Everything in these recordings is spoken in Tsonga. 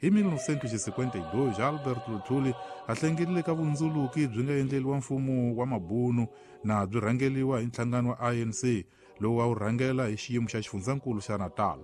Hi 1952 Albert Luthuli a hlengelile ka vundzuluki byi nga endleliwa mfumo wa mabunu na byi rhangeliwa hi nhlangano wa ANC lowu a wu rhangela hi xiyimo xa xifundzankulu xa Natal.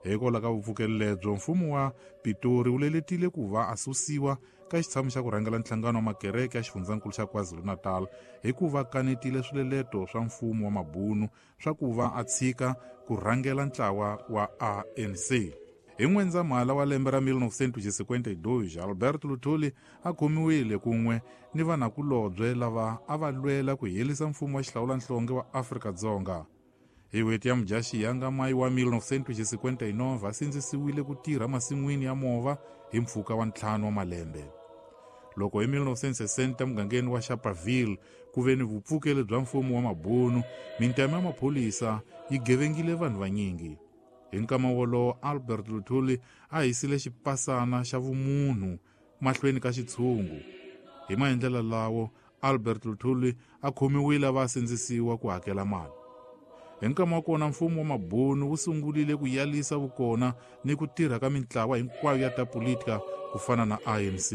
Hikwalaho ka vupfukeli lebyo, mfumo wa Pitori wu leletile ku va a susiwa ka xitshamo xa ku rhangela nhlangano wa makereke ya xifundzankulu xa KwaZulu-Natal hikuva kanetile swileleto swa mfumo wa mabunu swa ku va a tshika ku rhangela ntlawa wa ANC. Hi N'wendzamhala wa lembe ra 1952, Alberto Luthuli a khomiwile kun'we ni vanakulobye lava a va lwela ku herisa mfumo wa xihlawulanhlonge wa Afrika-Dzonga. Hi n'hweti ya Mudyaxihi nga mayi wa 1959 a sindzisiwile ku tirha masin'wini ya mova hi mpfhuka wa 5 wa malembe. Loko hi 1960 emugangeni wa Sharpeville ku ve ni vupfukeli bya mfumo wa mabunu, mintama ya maphorisa yi gevengile vanhu vanyingi. Hi nkama wolowo Albert Luthuli a hisile xipasana xa vumunhu mahlweni ka xitshungu. Hi maendlelo lawo Albert Luthuli a khomiwile a va a sindzisiwa ku hakela mali. Hi nkama wa kona mfumo wa mabunu wu sungurile ku yalisa vukona ni ku tirha ka mintlawa hinkwayo ya ta politika ku fana na ANC.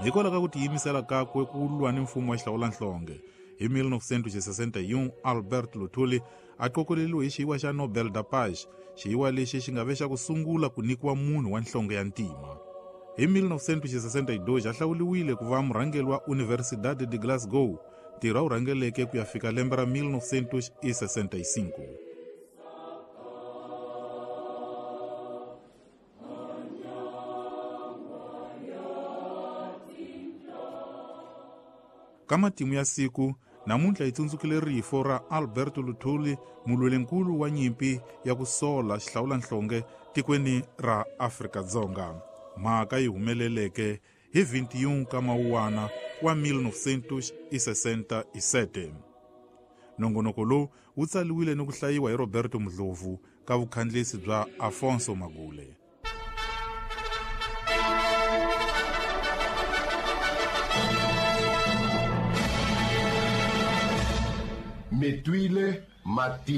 Hikwalaho ka ku tiyimisela kakwe ku lwa ni mfumo wa xihlawulanhlonge, hi 1961 Albert Luthuli a qokoleriwe hi xiyiwa xa Nobel da Paz, xiyiwa lexi xi nga ve xa ku sungula ku nyikiwa munhu wa nhlonge ya ntima. Hi 1962 a hlawuriwile ku va murhangeri wa Universidade de Glasgow, ntirho a wu rhangeleke ku ya fika lembe ra 1965. Ka matimu ya siku namuntlha hi tsundzukile rifo ra Alberto Luthuli, mulwelinkulu wa nyimpi ya ku sola xihlawulanhlonge tikweni ra Afrika-Dzonga. Mhaka yi humeleleke hi 21 ka Mawuwana wa 1967. Nongonoko lowu wu tsaliwile ni ku hlayiwa hi Roberto Mudlovu ka vukhandlisi bya Afonso Magule. Mi twile mati.